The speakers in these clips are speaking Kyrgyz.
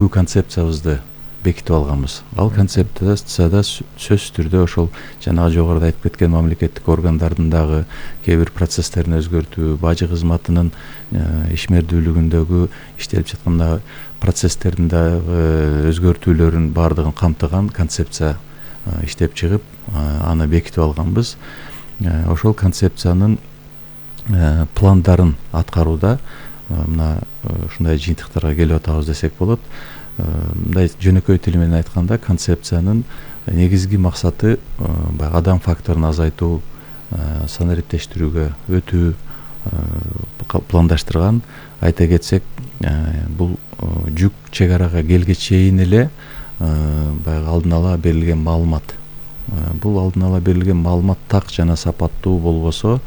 бүгүнкү концепциябызды бекитип алганбыз. Ал концепцияда сөзсүз түрдө ошол жанагы жогоруда айтып кеткен мамлекеттик органдардын дагы кээ бир процесстерин өзгөртүү, бажы кызматынын ишмердүүлүгүндөгү иштелип жаткан процесстердин дагы өзгөртүүлөрүн баардыгын камтыган концепция иштеп чыгып, аны бекитип алганбыз. Ошол концепциянын пландарын аткарууда мына ушундай жыйынтыктарга келип атабыз десек болот. Мындай жөнөкөй тил менен айтканда, концепциянын негизги максаты баягы адам факторун азайтуу, санариптештирүүгө өтүү пландаштырган. Айта кетсек, бул жүк чек арага келгече чейин эле баягы алдын ала берилген маалымат. Бул алдын ала берилген маалымат так жана сапаттуу болбосо,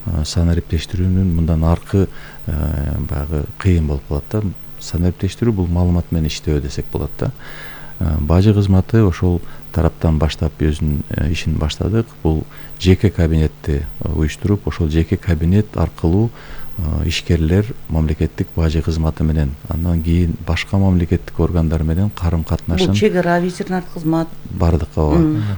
санариптештирүүнүн мындан аркы баягы кыйын болуп калат да. Санариптештирүү бул маалымат менен иштөө десек болот да. Бажы кызматы ошол тараптан баштап өзүнүн ишин баштадык. Бул жеке кабинетти уюштуруп, ошол жеке кабинет аркылуу ишкерлер мамлекеттик бажы кызматы менен, андан кийин башка мамлекеттик органдар менен карым катнашын. Бул чек ара ветеринар кызмат бардык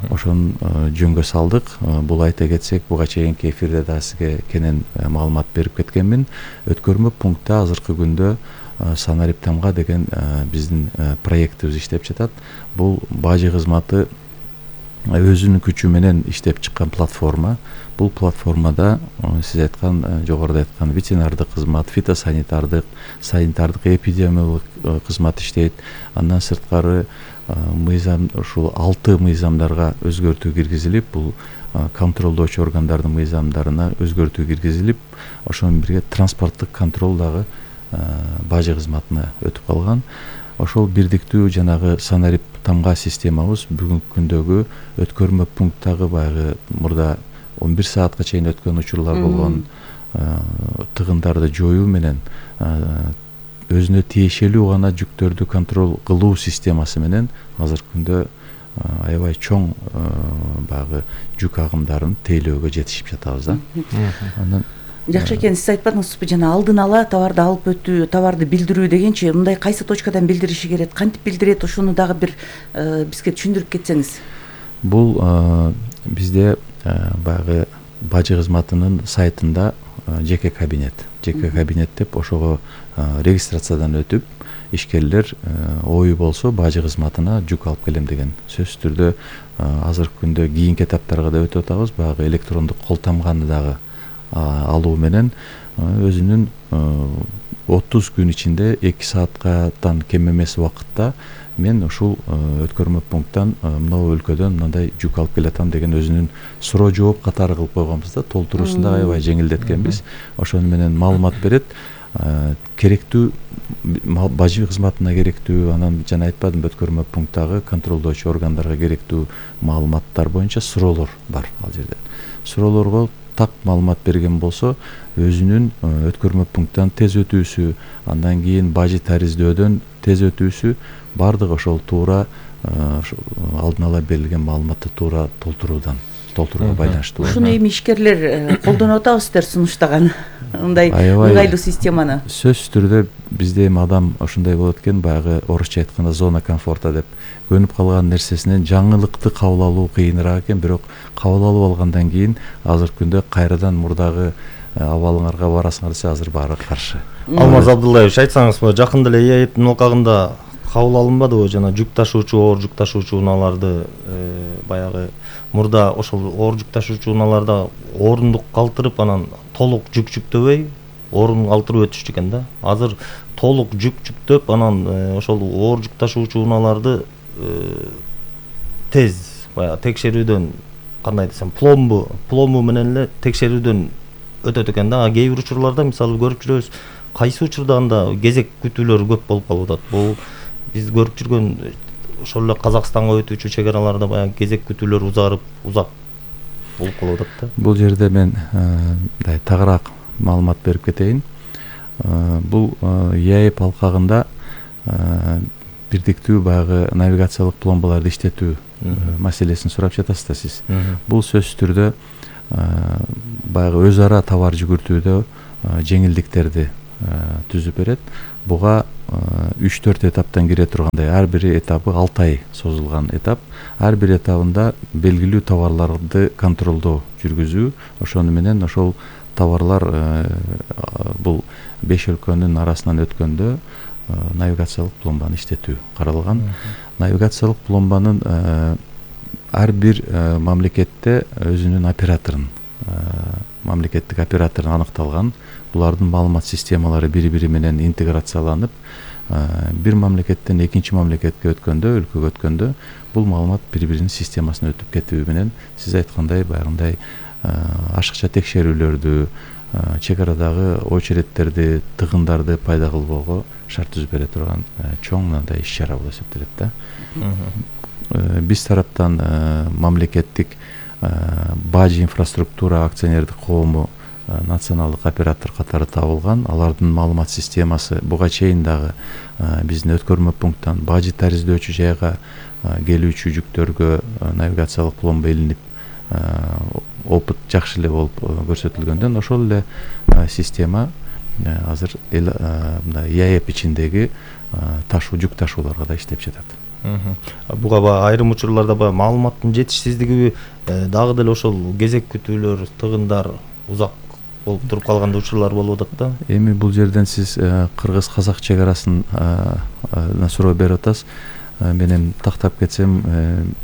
ошону жөнгө салдык. Бул айта кетсек, буга чейинки эфирде да сизге кенен маалымат берип кеткенмин. Өткөрмө пунктта азыркы күндө Санариптамга деген биздин проектибиз иштеп жатат. Бул бажы кызматы өзүнүн күчү менен иштеп чыккан платформа. Бул платформада сиз айткан, жогоруда айткан ветеринардык кызмат, фитосанитардык, санитардык, эпидемиологик кызмат иштейт. Андан сырткары мыйзам, ушул 6 мыйзамдарга өзгөртүү киргизилип, бул контролдоочу органдардын мыйзамдарына өзгөртүү киргизилип, ошону менен бирге транспорттук контроль дагы бажы кызматына өтүп калган. Ошол бирдиктүү жанагы санариптамга системабыз бүгүнкү күндөгү өткөрмө пункттагы баягы мурда 11 саатка чейин өткөн учурлар болгон тыгындарды жоюу менен өзүнө тиешелүү гана жүктөрдү контроль кылуу системасы менен азыркы күндө аябай чоң баягы жүк агымдарын тейлөөгө жетишип жатабыз да. Андан жакшы экен, сиз айтпадыңызбы жана алдын ала товарды алып өтүү, товарды билдирүү дегенчи, мындай кайсы точкадан билдириши керек, кантип билдирет, ошону дагы бир бизге түшүндүрүп кетсеңиз. Бул бизде баягы бажы кызматынын сайтында жеке кабинет деп ошого регистрациядан өтүп, ишкерлер ою болсо бажы кызматына жүк алып келем деген сөзсүз түрдө азыркы күндө кийинки этаптарга да өтүп атабыз. Баягы электрондук кол тамганы дагы алуу менен өзүнүн 30 күн ичинде 2 сааттан кем эмес убакытта мен ушул өткөрмө пункттан мынау өлкөдөн мындай жүк алып келатам деген өзүнүн суроо жооп катары кылып койгонбуз да. Толтуруусун да аябай жеңилдеткенбиз. Ошону менен маалымат берет. Керектүү бажы кызматына керектүү, анан жана айтпадымбы, өткөрмө пункттагы контролдоочу органдарга керектүү маалыматтар боюнча суроолор бар ал жерде. Суроолорго так маалымат берген болсо, өзүнүн өткөрмө пункттан тез өтүүсү, андан кийин бажы тариздөөдөн тез өтүүсү, бардыгы ошол туура алдын ала берилген маалыматты туура толтурууга байланыштуу. Ушуну эми ишкерлер колдонуп атабыздар сунуштаган мындай ыңгайлуу системаны. Сөзсүз түрдө бизде эми адам ошондой болот экен, баягы орусча айтканда зона комфорта деп, көнүп калган нерсесинен жаңылыкты кабыл алуу кыйыныраак экен, бирок кабыл алып алгандан кийин азыркы күндө кайрадан мурдагы абалыңарга барасыңар десе азыр баары каршы. Алмаз Абдуллаевич, айтсаңызбы, жакында эле ЭАЭПтин алкагында кабыл алынбадыбы жана жүк ташуучу, оор жүк ташуучу унааларды баягы мурда ошол оор жүк ташуучу унааларда орундук калтырып, анан толук жүк жүктөбөй орун калтырып өтүштү экен да. Азыр толук жүк жүктөп, анан ошол оор жүк ташуучу унааларды тез баягы текшерүүдөн, кандай десем, пломбу менен эле текшерүүдөн өтөт экен да. Кээ бир учурларда мисалы көрүп жүрөбүз, кайсы учурда анда кезек күтүүлөр көп болуп калып атат. Бул биз көрүп жүргөн ошол эле Казакстанга өтүүчү чек араларда баягы кезек күтүүлөр узак болуп калып атат да. Бул жерде мен тагыраак маалымат берип кетейин. Бул ЕАЭП алкагында бирдиктүү баягы навигациялык пломбаларды иштетүү маселесин сурап жатасыз да сиз. Бул сөзсүз түрдө баягы өз ара товар жүгүртүүдө жеңилдиктерди түзүп берет. Буга 3-4 этаптан кире тургандай, ар бир этабы 6 ай созулган этап. Ар бир этабында белгилүү товарларды контролдоо жүргүзүү, ошону менен ошол товарлар бул 5 өлкөнүн арасынан өткөндө навигациялык пломбаны иштетүү каралган. Навигациялык пломбанын ар бир мамлекетте өзүнүн операторун, мамлекеттик операторун аныкталган. Булардын маалымат системалары бири-бири менен интеграцияланып, бир мамлекеттен экинчи мамлекетке өткөндө, өлкөгө өткөндө бул маалымат бири-биринин системасына өтүп кетүү менен сиз айткандай баягындай ашыкча текшерүүлөрдү, чек арадагы очередтерди, тыгындарды пайда кылбоого шарт түзүп бере турган чоң мындай иш-чара болуп эсептелет да. Биз тараптан мамлекеттик Бажи инфраструктура акционердик коому националдык оператор катары табылган. Алардын маалымат системасы буга чейин дагы биздин өткөрмө пункттан Бажи тариздөчү жайга келүүчү жүктөргө навигациялык пломба илинип, опыт жакшы эле болуп көрсөтүлгөндөн ошол эле система азыр мындай ИАЭП ичиндеги жүк ташууларга да иштеп жатат. Буга айрым учурларда маалыматтын жетишсиздиги дагы деле ошол кезек күтүүлөр, тыгындар узак болуп туруп калган учурлар болуп атат да. Эми бул жерден сиз кыргыз-казак чек арасын суроо берип атасыз. Менен тактап кетсем,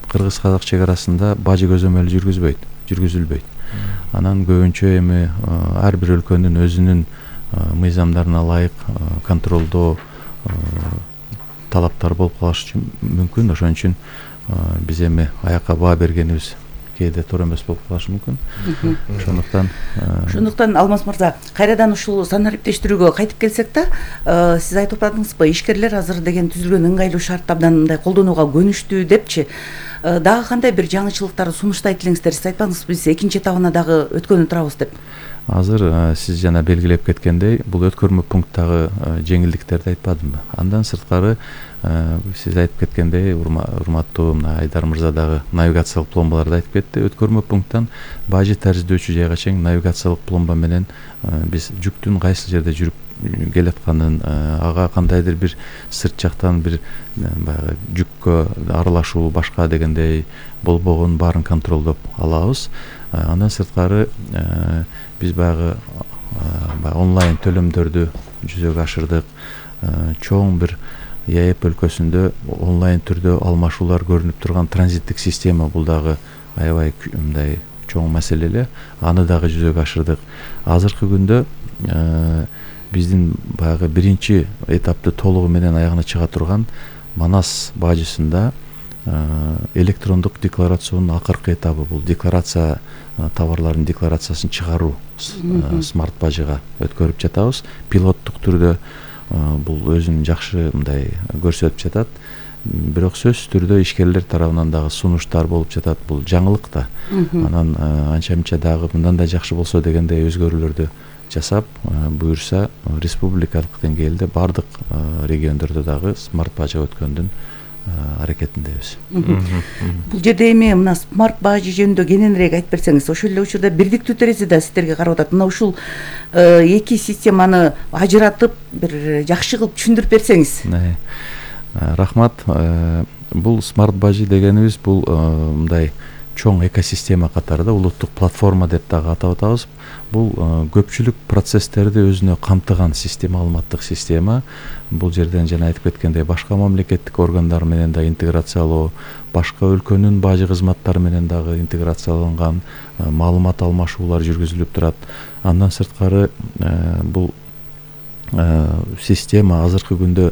кыргыз-казак чек арасында бажы көзөмөлү жүргүзүлбөйт. Анан көбүнчө эми ар бир өлкөнүн өзүнүн мыйзамдарына ылайык контролдоо талаптары болуп калышы мүмкүн. Ошон үчүн биз эми аякка баа бергенибиз кээде туура эмес болуп калышы мүмкүн. Ошондуктан Алмаз мырза, кайрадан ушул санариптештирүүгө кайтып келсек да, сиз айтып атпадыңызбы, ишкерлер азыр деген түзүлгөн ыңгайлуу шартты абдан мындай колдонууга көнүштүү депчи. Дагы кандай бир жаңычылыктарды сунуштайт элеңиздер? Сиз айтпаңыз, биз экинчи этабына дагы өткөнү турабыз деп. Азыр сиз жана белгилеп кеткендей, бул өткөрмө пункттагы жеңилдиктерди айтпадымбы? Андан сырткары сиз айтып кеткендей, урматтуу Айдар мырза дагы навигациялык пломбаларды айтып кетти. Өткөрмө пункттан Бажи тариздөчү жайга чейин навигациялык пломба менен биз жүктүн кайсы жерде жүрүп келатканын, ага кандайдыр бир сырт жактан бир баягы жүккө аралашуу башка дегендей болбогонун баарын контролдоп алабыз. Андан сырткары биз баягы онлайн төлөмдөрдү жүзөгө ашырдык. Чоң бир ИАЭП өлкөсүндө онлайн түрдө алмашуулар көрүнүп турган транзиттик система, бул дагы аябай мындай чоң маселе эле. Аны дагы жүзөгө ашырдык. Азыркы күндө биздин баягы биринчи этапты толугу менен аягына чыга турган Манас бажысында электрондук декларациянын акыркы этабы, бул декларация, товарлардын декларациясын чыгаруу смарт бажыга өткөрүп жатабыз. Пилоттук түрдө бул өзүн жакшы мындай көрсөтүп жатат. Бирок сөзсүз түрдө ишкерлер тарабынан дагы сунуштар болуп жатат. Бул жаңылык да. Анан анча-мынча дагы мындан да жакшы болсо дегендей өзгөрүүлөрдү жасап, буюрса республикалык деңгээлде бардык региондордо дагы смарт бажа өткөндүн аракетиндебиз. Бул жерде эми мына смарт бажы жөнүндө кененирээк айтып берсеңиз, ошол эле учурда бирдиктүү терезе да сиздерге карап атат. Мына ушул эки системаны ажыратып бир жакшы кылып түшүндүрүп берсеңиз. Рахмат. Бул смарт бажы дегенибиз бул мындай чоң экосистема катарында улуттук платформа деп дагы атап атабыз. Бул көпчүлүк процесстерди өзүнө камтыган система, маалыматтык система. Бул жерден жана айтып кеткендей башка мамлекеттик органдар менен да интеграциялоо, башка өлкөнүн бажы кызматтары менен дагы интеграцияланган маалымат алмашуулар жүргүзүлүп турат. Андан сырткары бул система азыркы күндө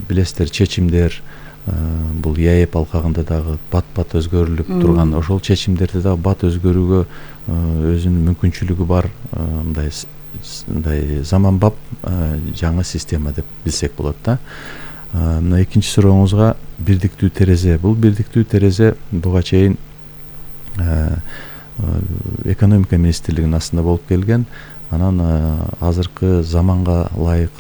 билесиздер, чечимдер бул ИАЭП алкагында дагы бат-бат өзгөрүлүп турган. Ошол чечимдерди дагы бат өзгөрүүгө өзүнүн мүмкүнчүлүгү бар мындай заманбап жаңы система деп билсек болот да. Мына экинчи сурооңузга бирдиктүү терезе. Бул бирдиктүү терезе буга чейин экономика министрлигинин астында болуп келген. Анан азыркы заманга ылайык,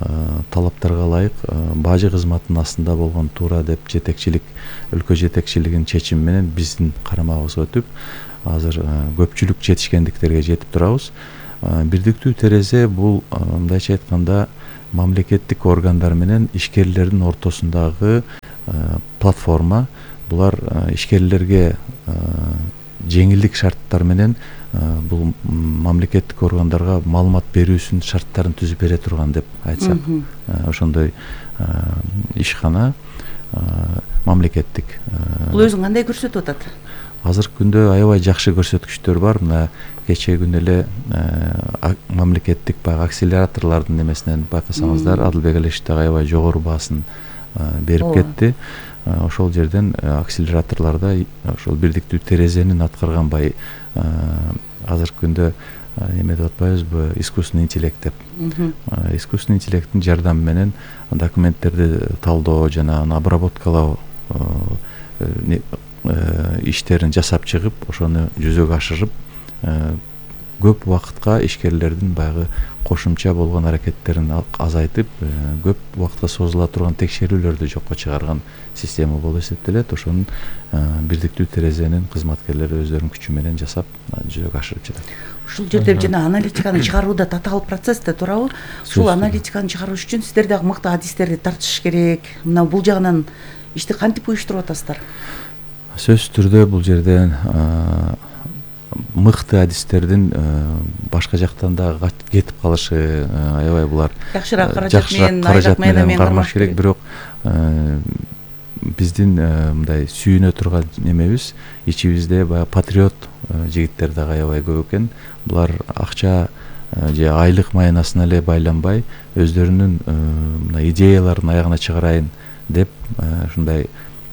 талаптарга ылайык бажы кызматынын астында болгон туура деп жетекчилик, өлкө жетекчилигинин чечими менен биздин карамагыбызга өтүп, азыр көпчүлүк жетишкендиктерге жетип турабыз. Бирдиктүү терезе бул мындайча айтканда мамлекеттик органдар менен ишкерлердин ортосундагы платформа. Булар ишкерлерге жеңилдик шарттар менен бул мамлекеттик органдарга маалымат берүүсүнүн шарттарын түзүп бере турган деп айтсак, ошондой ишкана мамлекеттик. Бул өзүн кандай көрсөтүп атат? Азыркы күндө аябай жакшы көрсөткүчтөр бар. Мына кечээ күнү эле мамлекеттик баягы акселераторлордун немесинен байкасаңыздар, Адылбек Алишев дагы аябай жогору баасын берип кетти. Ошол жерден акселераторлордо ошол бирдиктүү терезенин аткарган азыркы күндө эме деп атпайбызбы, искусственный интеллект деп. Искусственный интеллекттин жардамы менен документтерди талдоо жана аны обработкалоо иштерин жасап чыгып, ошону жүзөгө ашырып, көп убакытка ишкерлердин баягы кошумча болгон аракеттерин азайтып, көп убакытка созула турган текшерүүлөрдү жокко чыгарган система болуп эсептелет. Ошонун бирдиктүү терезенин кызматкерлери өздөрүнүн күчү менен жасап, жүзөгө ашырып жатат. Ушул жерде жана аналитиканы чыгаруу да татаал процесс да, туурабы? Ушул аналитиканы чыгарыш үчүн сиздер дагы мыкты адистерди тартыш керек. Мына бул жагынан ишти кантип уюштуруп атасыздар? Сөзсүз түрдө бул жерден мыкты адистердин башка жактан да кетип калышы аябай булар жакшыраак каражат менен кармаш керек. Бирок биздин мындай сүйүнө турган немебиз, ичибизде баягы патриот жигиттер дагы аябай көп экен. Булар акча же айлык маянасына эле байланбай, өздөрүнүн мына идеяларын аягына чыгарайын деп ушундай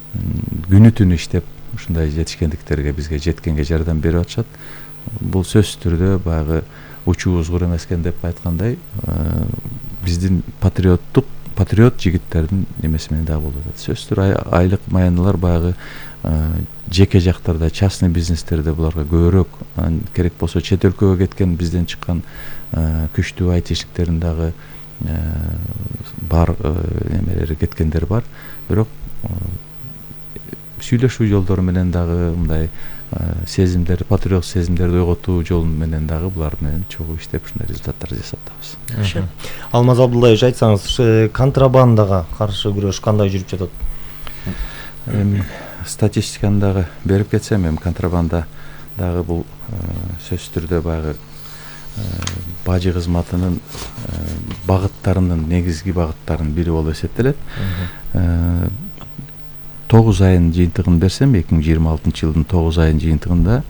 күнү түнү иштеп, ушундай жетишкендиктерге, бизге жеткенге жардам берип атышат. Бул сөзсүз түрдө баягы учуу узгур эмес экен деп айткандай, биздин патриот жигиттердин немеси менен дагы болуп атат. Сөзсүз түрдө айлык маяналар баягы жеке жактарда, частный бизнестерде буларга көбүрөөк, керек болсо чет өлкөгө кеткен бизден чыккан күчтүү айтишниктердин дагы бар эмелери кеткендер бар. Бирок сүйлөшүү жолдору менен дагы мындай сезимдерди, патриот сезимдерди ойготуу жолу менен дагы булар менен чогуу иштеп ушундай результаттар жасап атабыз. Алмаз Абдуллаевич, айтсаңыз, контрабандага каршы күрөш кандай жүрүп жатат? Статистиканы дагы берип кетсем, контрабанда дагы бул сөзсүз түрдө баягы бажы кызматынын багыттарынын, негизги багыттарынын бири болуп эсептелет. 9 айын жыйынтыгын берсем, 2026 жылдын 9 айын жыйынтыгында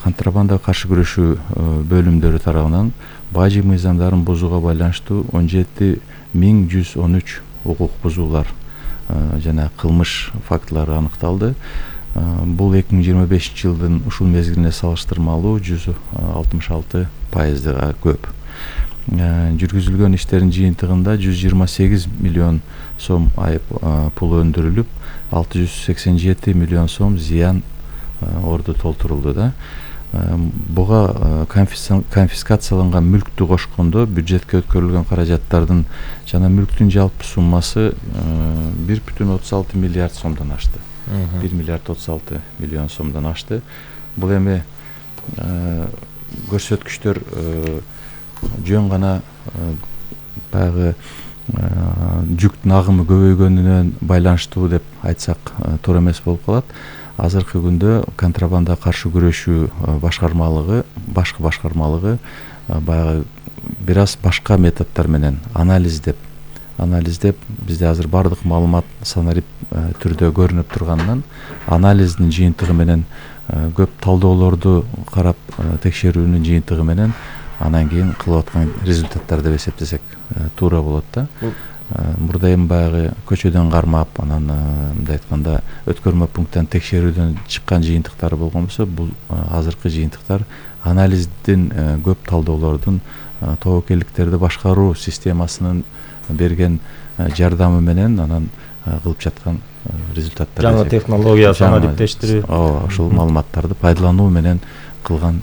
контрабандага каршы күрөшүү бөлүмдөрү тарабынан бажы мыйзамдарын бузууга байланыштуу 17113 укук бузуулар жана кылмыш фактылары аныкталды. Бул 2025 жылдын ушул мезгилине салыштырмалуу 166% көп. Жүргүзүлгөн иштердин жыйынтыгында 128 миллион сом айып пул өндүрүлүп, 687 миллион сом зыян орду толтурулду да. Буга конфискацияланган мүлктү кошкондо бюджетке өткөрүлгөн каражаттардын жана мүлктүн жалпы суммасы 1,36 миллиард сомдон ашты. 1 миллиард 36 миллион сомдон ашты. Бул эми көрсөткүчтөр жөн гана баягы жүктүн агымы көбөйгөнүнөн байланыштуу деп айтсак туура эмес болуп калат. Азыркы күндө контрабандага каршы күрөшүү башкармалыгы баягы бир аз башка методдор менен анализдеп бизде азыр бардык маалымат санарип түрдө көрүнүп турганынан, анализдин жыйынтыгы менен көп талдоолорду карап, текшерүүнүн жыйынтыгы менен анан кийин кылып аткан результаттар деп эсептесек туура болот да. Мурда эми баягы көчөдөн кармап, анан мындай айтканда өткөрмө пункттан текшерүүдөн чыккан жыйынтыктар болгон болсо, бул азыркы жыйынтыктар анализдин көп талдоолордун, тобокелдиктерди башкаруу системасынын берген жардамы менен анан кылып жаткан результаттар. Жаңы технология, санариптештирүү. Ошол маалыматтарды пайдалануу менен кылган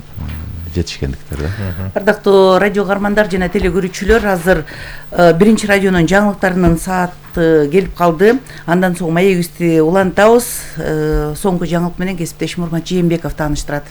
жетишкендиктер да. Ардактуу радио каармандар жана теле көрүүчүлөр, азыр биринчи радионун жаңылыктарынын сааты келип калды. Андан соң маегибизди улантабыз. Соңку жаңылык менен кесиптешим Урмат Жээнбеков тааныштырат.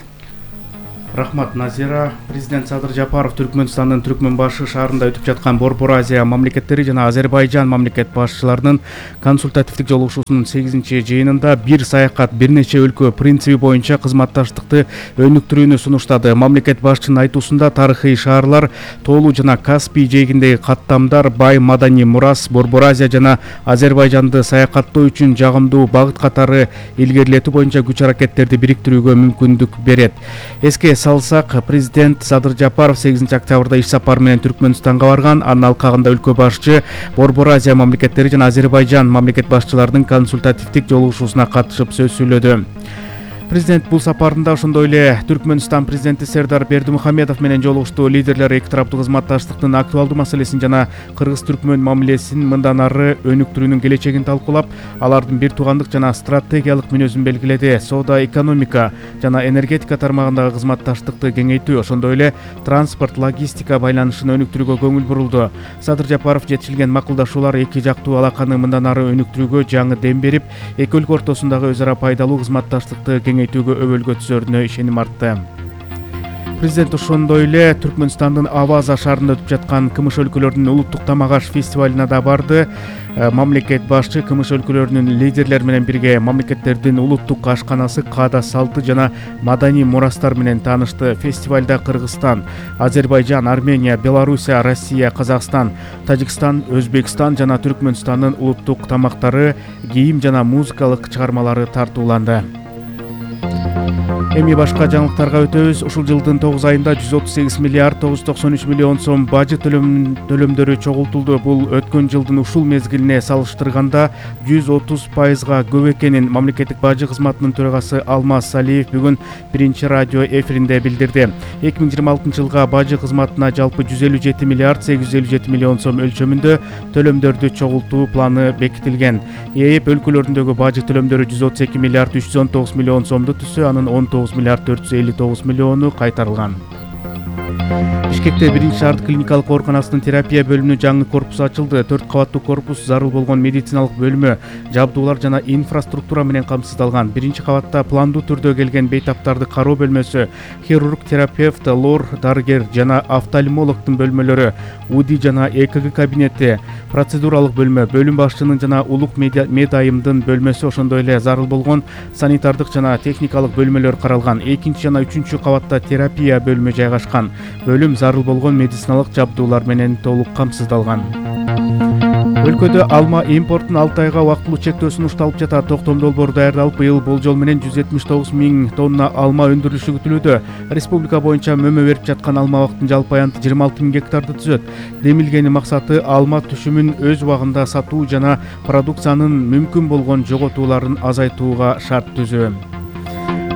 Рахмат, Назира. Президент Садыр Жапаров Түркмөнстандын Түркмөнбашы шаарында өтүп жаткан Борбор Азия мамлекеттери жана Азербайжан мамлекет башчыларынын консультативдик жолугушуусунун 8-чи жыйынында бир саякат бир нече өлкө принциби боюнча кызматташтыкты өнүктүрүүнү сунуштады. Мамлекет башчынын айтуусунда тарыхый шаарлар, Тоолуу жана Каспий жээгиндеги каттамдар, бай маданий мурас Борбор Азия жана Азербайжанды саякаттоо үчүн жагымдуу багыт катары илгерилетүү боюнча күч аракеттерди бириктирүүгө мүмкүндүк берет. Эске салсак, президент Садыр Жапаров 8-октябрда иш сапары менен Түркмөнстанга барган. Анын алкагында өлкө башчы Борбор Азия мамлекеттери жана Азербайжан мамлекет башчыларынын консультативдик жолугушуусуна катышып сөз сүйлөдү. Президент бул сапарында ошондой эле Түркмөнстан президенти Сердар Бердимухамедов менен жолугушту. Лидерлер эки тараптуу кызматташтыктын актуалдуу маселесин жана кыргыз-түркмөн мамилесин мындан ары өнүктүрүүнүн келечегин талкуулап, алардын бир туугандык жана стратегиялык мүнөзүн белгиледи. Соода, экономика жана энергетика тармагындагы кызматташтыкты кеңейтүү, ошондой эле транспорт, логистика байланышын өнүктүрүүгө көңүл бурулду. Садыр Жапаров жетишилген макулдашуулар эки жактуу алаканы мындан ары өнүктүрүүгө жаңы дем берип, эки өлкө ортосундагы өз ара пайдалуу кызматташтыкты кеңейтүүгө өбөлгө түзөрүнө ишеним артты. Президент ошондой эле Түркмөнстандын Аваза шаарында өтүп жаткан Кымыш өлкөлөрүнүн улуттук тамак-аш фестивалына да барды. Мамлекет башчы Кымыш өлкөлөрүнүн лидерлери менен бирге мамлекеттердин улуттук ашканасы, каада салты жана маданий мурастар менен таанышты. Фестивалда Кыргызстан, Азербайжан, Армения, Белоруссия, Россия, Казакстан, Тажикстан, Өзбекстан жана Түркмөнстандын улуттук тамактары, кийим жана музыкалык чыгармалары тартууланды. Эми башка жаңылыктарга өтөбүз. Ушул жылдын 9 айында 138 миллиард 993 миллион сом бажы төлөмдөрү чогултулду. Бул өткөн жылдын ушул мезгилине салыштырганда 130%га көп экенин мамлекеттик бажы кызматынын төрагасы Алмаз Салиев бүгүн биринчи радио эфиринде билдирди. 2026 жылга бажы кызматына жалпы 157 миллиард 857 миллион сом өлчөмүндө төлөмдөрдү чогултуу планы бекитилген. ЭЭП өлкөлөрүндөгү бажы төлөмдөрү 132 миллиард 319 миллион сомду түзсө, анын 19 миллиард 459 миллиону кайтарылган. Бишкекте биринчи шаардык клиникалык ооруканасынын терапия бөлүмүнүн жаңы корпусу ачылды. 4 кабаттуу корпус зарыл болгон медициналык бөлмө, жабдуулар жана инфраструктура менен камсыздалган. Биринчи кабатта пландуу түрдө келген бейтаптарды кароо бөлмөсү, хирург, терапевт, лор, дарыгер жана офтальмологдун бөлмөлөрү, УДИ жана ЭКГ кабинети, процедуралык бөлмө, бөлүм башчынын жана улук медайымдын бөлмөсү, ошондой эле зарыл болгон санитардык жана техникалык бөлмөлөр каралган. 2 жана 3 кабатта терапия бөлмө жайгашкан. Бөлүм зарыл болгон медициналык жабдуулар менен толук камсыздалган. Өлкөдө алма импортун 6 айга убактылуу чектөө сунушталып жатат. Токтом долбоор даярдалып, быйыл болжол менен 179 000 тонна алма өндүрүлүшү күтүлүүдө. Республика боюнча мөмө берип жаткан алма абактын жалпы аянты 26 000 гектарды түзөт. Демилгени максаты алма түшүмүн өз убагында сатуу жана продукциянын мүмкүн болгон жоготууларын азайтууга шарт түзүү.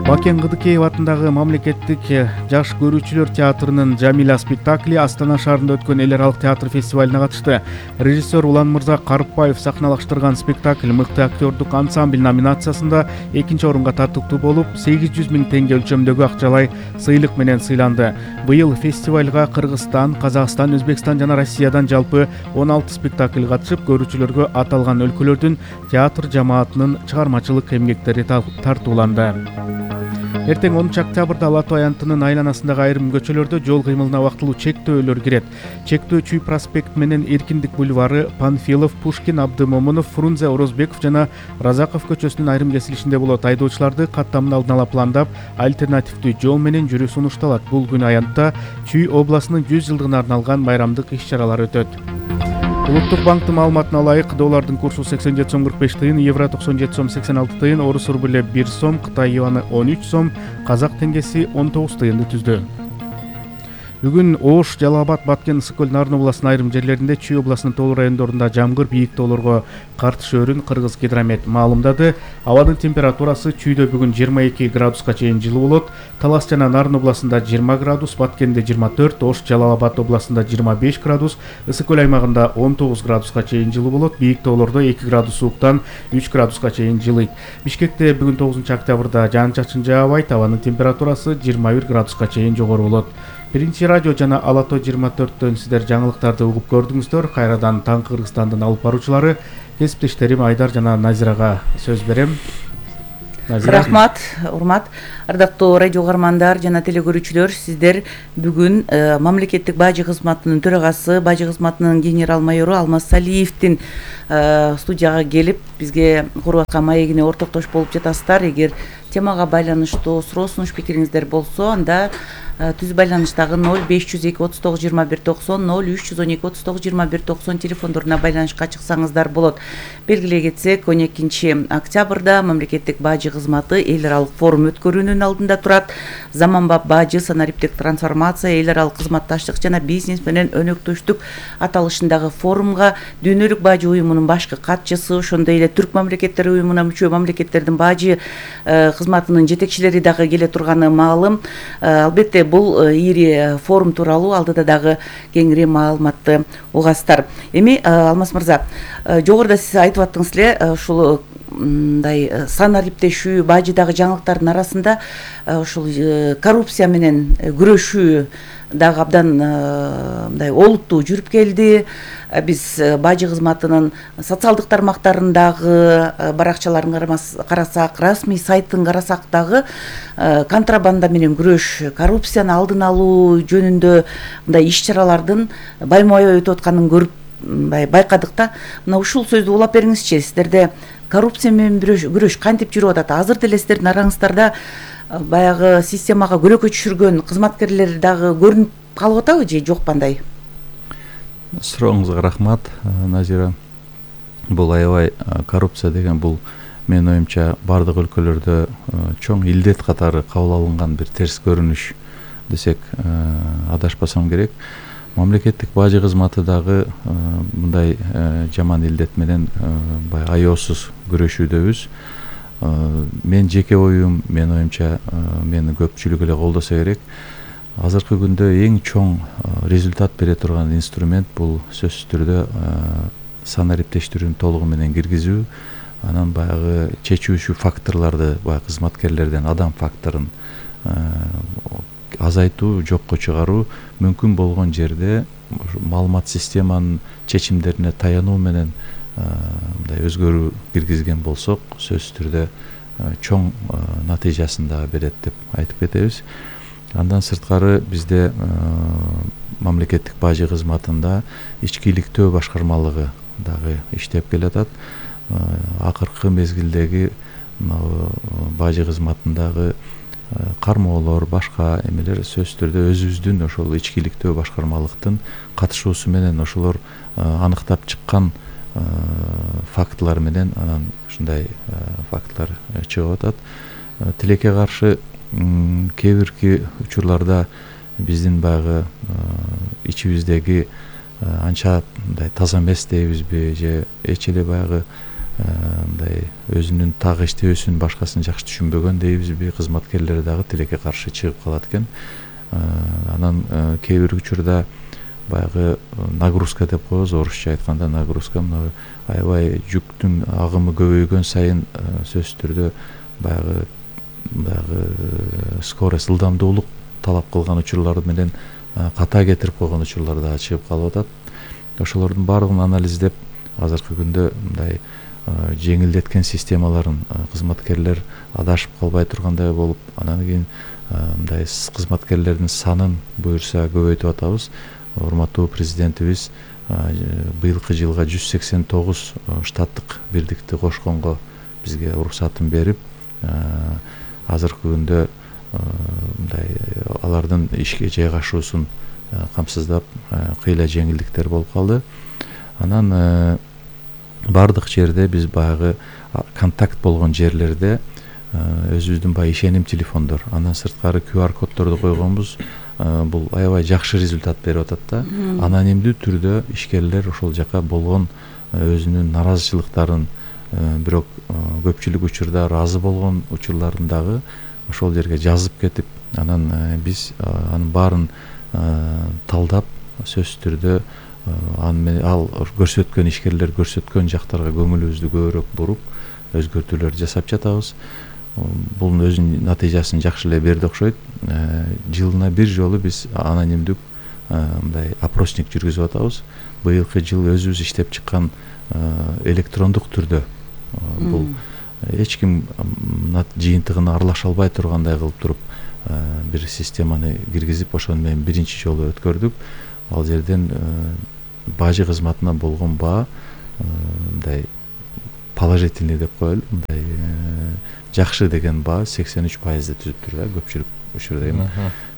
Бакен Кыдыкеев атындагы мамлекеттик жаш көрүүчүлөр театрынын Жамила спектакли Астана шаарында өткөн эл аралык театр фестивалине катышты. Режиссер Уланмырза Карыпбаев сахналаштырган спектакль мыкты актёрдук ансамбль номинациясында 2-чи орунга тартыктуу болуп, 800 000 теңге өлчөмдөгү акчалай сыйлык менен сыйланды. Быйыл фестивалга Кыргызстан, Казакстан, Өзбекстан жана Россиядан жалпы 16 спектакль катышып, көрүүчүлөргө аталган өлкөлөрдүн театр жамаатынын чыгармачылык эмгектери тартууланды. Эртең 10-октябрда Ала Тоо аянтынын айланасындагы айрым көчөлөрдө жол кыймылына убактылуу чектөөлөр кирет. Чектөө Чүй проспект менен Эркиндик бульвары, Панфилов, Пушкин, Абдымомунов, Фрунзе, Орозбеков жана Разаков көчөсүнүн айрым кесилишинде болот. Айдоочуларды каттамын алдын ала пландап, альтернативдүү жол менен жүрүү сунушталат. Бул күнү аянтта Чүй областынын 100 жылдыгына арналган байрамдык иш-чаралар өтөт. Улуттук банктын маалыматына ылайык, доллардын курсу 87 сом 45 тыйын, евро 97 сом 86 тыйын, орус рубле 1 сом, Кытай юаны 13 сом, казак теңгеси 19 тыйынды түздү. Бүгүн Ош, Жалал Абад, Баткен, Ысык көл, Нарын областынын айрым жерлеринде, Чүй областынын тоолуу райондорунда жамгыр, бийик тоолорго кар түшөөрүн Кыргыз гидромет маалымдады. Абадын температурасы Чүйдө бүгүн 22 градуска чейин жылуу болот. Талас жана Нарын областында 20 градус, Баткенде 24, Ош, Жалал Абад областында 25 градус, Ысык көл аймагында 19 градуска чейин жылуу болот. Бийик тоолордо 2 градус сууктан 3 градуска чейин жылыйт. Бишкекте бүгүн 9-октябрда жаан-чачын жаабайт, абанын температурасы 21 градуска чейин жогору болот. Биринчи радио жана Ала Тоо 24-төн сиздер жаңылыктарды угуп көрдүңүздөр. Кайрадан таң Кыргызстандын алып баруучулары кесиптештерим Айдар жана Назирага сөз берем. Рахмат, урмат, ардактуу радио угармандар жана телекөрүүчүлөр, сиздер бүгүн мамлекеттик бажы кызматынын төрагасы, бажы кызматынын генерал майору Алмаз Салиевдин студияга келип бизге куруп аткан маегине ортоктош болуп жатасыздар. Эгер темага байланыштуу суроо сунуш пикириңиздер болсо, анда түз байланыштагы 0502 39 21 90 0312 39 21 90 телефондоруна байланышка чыксаңыздар болот. Белгилей кетсек, 12 октябрда мамлекеттик бажы кызматы эл аралык форум өткөрүүнүн алдында турат. Заманбап бажы, санариптик трансформация, эл аралык кызматташтык жана бизнес менен өнөктөштүк аталышындагы форумга Дүйнөлүк бажы уюмунун башкы катчысы, ошондой эле Түрк мамлекеттери уюмуна мүчө мамлекеттердин бажы кызматынын жетекчилери дагы келе турганы маалым. Албетте бул ири форум тууралуу алдыда дагы кеңири маалыматты угасыздар. Эми Алмаз мырза, жогоруда сиз айтып аттыңыз эле, ушул мындай санариптешүү, бажыдагы жаңылыктардын арасында ушул коррупция менен күрөшүү дагы абдан мындай олуттуу жүрүп келди. Биз бажы кызматынын социалдык тармактарындагы баракчаларын карасак, расмий сайтын карасак дагы контрабанда менен күрөш, коррупцияны алдын алуу жөнүндө мындай иш-чаралардын байма-бай өтүп атканын көрүп байкадык да. Мына ушул сөздү улап бериңизчи, сиздерде коррупция менен күрөш кантип жүрүп атат? Азыр деле сиздердин араңыздарда баягы системага көлөкө түшүргөн кызматкерлер дагы көрүнүп калып атабы же жок кандай? Сурооңузга рахмат, Назира. Бул аябай коррупция деген бул менин оюмча бардык өлкөлөрдө чоң илдет катары кабыл алынган бир терс көрүнүш десек адашпасам керек. Мамлекеттик бажы кызматы дагы мындай жаман илдет менен баягы аеосуз күрөшүүдөбүз. Мен жеке оюм, менин оюмча мени көпчүлүк эле колдосо керек. Азыркы күндө эң чоң результат бере турган инструмент бул сөзсүз түрдө санариптештирүүнү толугу менен киргизүү, анан баягы чечүүчү факторлорду, баягы кызматкерлерден адам факторун азайтуу, жокко чыгаруу, мүмкүн болгон жерде маалымат системанын чечимдерине таянуу менен мындай өзгөрүү киргизген болсок, сөзсүз түрдө чоң натыйжасын дагы берет деп айтып кетебиз. Андан сырткары бизде мамлекеттик бажы кызматында ички иликтөө башкармалыгы дагы иштеп келатат. Акыркы мезгилдеги бажы кызматындагы кармоолор, башка эмелер сөзсүз түрдө өзүбүздүн ошол ички иликтөө башкармалыктын катышуусу менен ошолор аныктап чыккан фактылар менен анан ушундай фактылар чыгып атат. Тилекке каршы кээ бирки учурларда биздин баягы ичибиздеги анча мындай таза эмес дейбизби же эч эле баягы мындай өзүнүн так иштөөсүн башкасын жакшы түшүнбөгөн дейбизби, кызматкерлер дагы тилекке каршы чыгып калат экен. Анан кээ бир учурда баягы нагрузка деп коебуз, орусча айтканда нагрузка, мына аябай жүктүн агымы көбөйгөн сайын сөзсүз түрдө баягы скорость, ылдамдуулук талап кылган учурлар менен ката кетирип койгон учурлар да чыгып калып атат. Ошолордун баардыгын анализдеп, азыркы күндө мындай жеңилдеткен системаларын кызматкерлер адашып калбай тургандай болуп, анан кийин мындай кызматкерлердин санын буюрса көбөйтүп атабыз. Урматтуу президентибиз быйылкы жылга 189 штаттык бирдикти кошконго бизге уруксатын берип, азыркы күндө мындай алардын ишке жайгашуусун камсыздап кыйла жеңилдиктер болуп калды. Анан бардык жерде биз баягы контакт болгон жерлерде өзүбүздүн баягы ишеним телефондор, андан сырткары QR коддорду койгонбуз. Бул аябай жакшы результат берип атат да. Анонимдүү түрдө ишкерлер ошол жака болгон өзүнүн наразычылыктарын, бирок көпчүлүк учурда ыраазы болгон учурларын дагы ошол жерге жазып кетип, анан биз анын баарын талдап, сөзсүз түрдө ал көрсөткөн ишкерлер көрсөткөн жактарга көңүлүбүздү көбүрөөк буруп өзгөртүүлөр жасап жатабыз. Бул өзүнүн натыйжасын жакшы эле берди окшойт. Жылына бир жолу биз анонимдүк мындай опросник жүргүзүп атабыз. Быйылкы жыл өзүбүз иштеп чыккан электрондук түрдө бул эч ким жыйынтыгына аралаша албай тургандай кылып туруп бир системаны киргизип ошону менен биринчи жолу өткөрдүк. Ал жерден бажы кызматына болгон баа мындай положительный деп коелу, мындай жакшы деген баа 83% түзүптүр да көпчүлүк учурда эми.